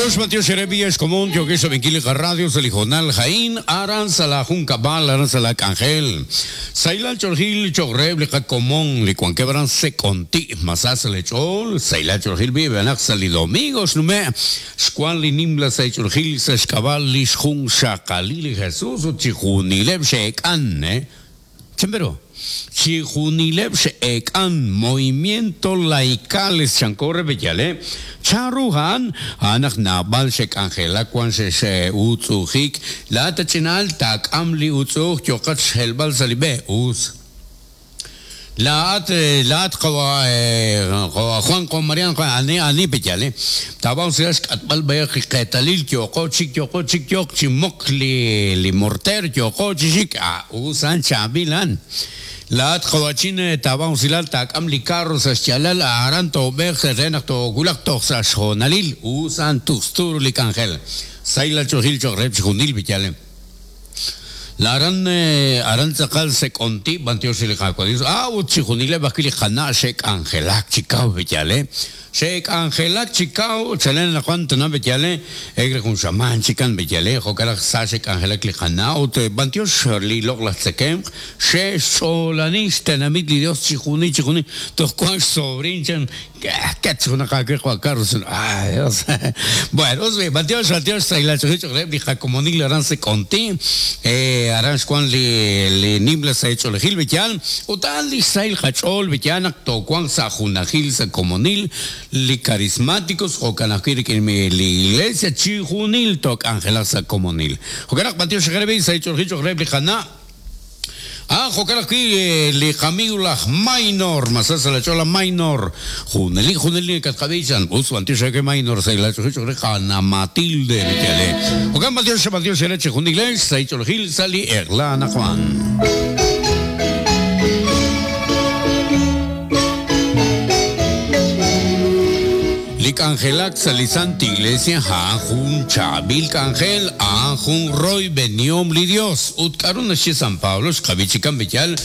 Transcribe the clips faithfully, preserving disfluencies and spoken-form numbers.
Matiox, Matiox, Erebia, Escomón, Yoqueso, Benquili, Radio, Salijonal, Jaín, Aran, Salajun, Cabal, Aran, Salacangel, Sailal, Chorgil, Chogreb, Licacomón, Licuanquebran, Seconti, Masas, Lechol, Sailal, Chorgil, Vive, Anax, Domingos, Nume, Squan, Nimla, Saichorgil, Sashkabal, Lishjun, Shakalili, Jesús, Uchijunileb, Shekan, eh. Chembero. Chijunileb sheekan movimiento laicales chancorre bellale charuhan anak nabal shek angela kwan she she utzujik la tachinal tak amli utzuj yokat shelbal salibe us La at la at qawa Juan con Mariano ani ani bellale tabao se atbal bay qitalil yoqo chik yoqo chik yoq chimok li li morter yoqo chik a usan chabilan La at qawachin tabao silal tak am li carro sa chalal aran to bej renaq to gulaq to sa shonalil usan tustur li kangel sayla chohil chogreb chunil bellale La aran aran tzakal se conti bantiosh li qaqwadis ah utchijunile bakili qana shek angelak chikau bellale shek angelak chikau chalen la cuanto na bellale egre con shaman chikan bellale jokala sa shek angelak li qana ut bantiosh li log la tsekem she solanis tenamit li Dios chijuni chijuni tos cuan sobrinchan que una Carlos. Ay, Dios. Bueno, bantiosh bantiosh la chojicho li jacomonil aran se conti eh aran Juan li li nimla sa hecho le gil bellal utal li sail hachol bellana to Juan sa junajil sa comonil li carismáticos o canajir que mi li iglesia chijunil tok angela sa comonil. Jokanak bantiosh grebe sa hecho el grebe jana. Ah, jokalaki li kamigula minor, masasa la chola minor, juneli juneli katqabichan, us bantiosh que minor sa la chojicho jana Matilde bellale. Jokan bantiosh bantiosh leche junile sa hecho el gil sali erlana Juan. Angelak salizante iglesia ha jun chabil angel a jun roy beniom li Dios utkarun shi San Pablo xkabichikan bechal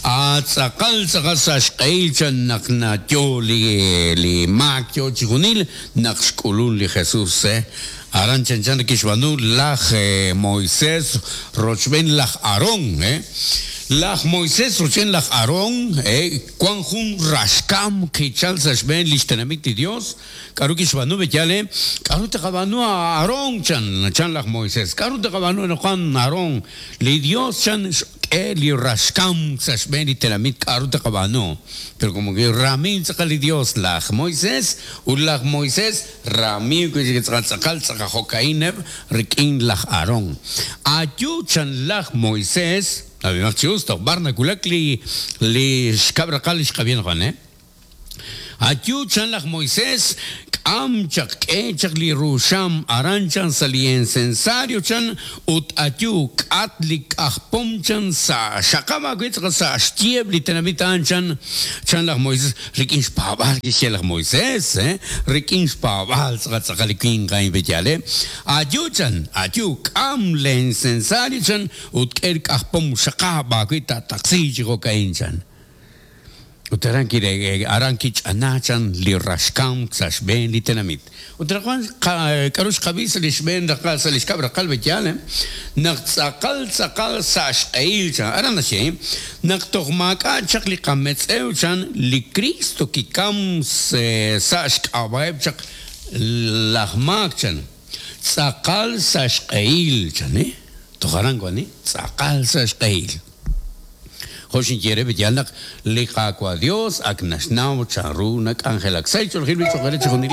a tzakal tzakal saxqeilchan nakna yo li li makyo chijunil naqxkulun li Jesús eh aran chanchan kishbanu laj Moisés rochben laj Aarón eh Laj Moisés rochen laj Aarón eh cuan jun rashkam kichal sashben lishtenamit Dios karu kishbanu bechale karu taqabanu Aarón chan chan laj Moisés karu taqabanu no Aarón li Dios chan li rashkam sashben lishtenamit karu taqabanu pero como que ramin tzakal Dios laj Moisés u laj Moisés ramim que tzakal tzakajokaineb rikin laj Aarón ayu chan laj Moisés Abi justo barna kulak li li xkabrakal xkabien Juan eh Ayu chan laj Moisés am chak echak li rusham aranchan sali incensario chan ut ayu kat li kajpom chan sa shakama kwitz sa shtieb li tenamit anchan chan laj Moisés rikin xpabal kixel laj Moisés eh rikin xpabal tzakalikin kain bechale ayu chan ayu kam le incensario chan ut ker kajpom shakaba kwita taxi chico kain chan Utaran kire aran kich anachan li rashkam sashben li tenamit. Utrajuan karush qabis li shben raqal salish kabra qalbi yale naq tzaqal tzaqal sash eilcha aran nashe naq tohmaka chaq li qametz chan li Cristo kikam sash qabaeb chaq lajmak chan tzaqal sash eilcha ne tojaran guani tzaqal sash eil Joshin quiere bellana li qaqua Dios aknashnau charuna angelak saychol gil bicho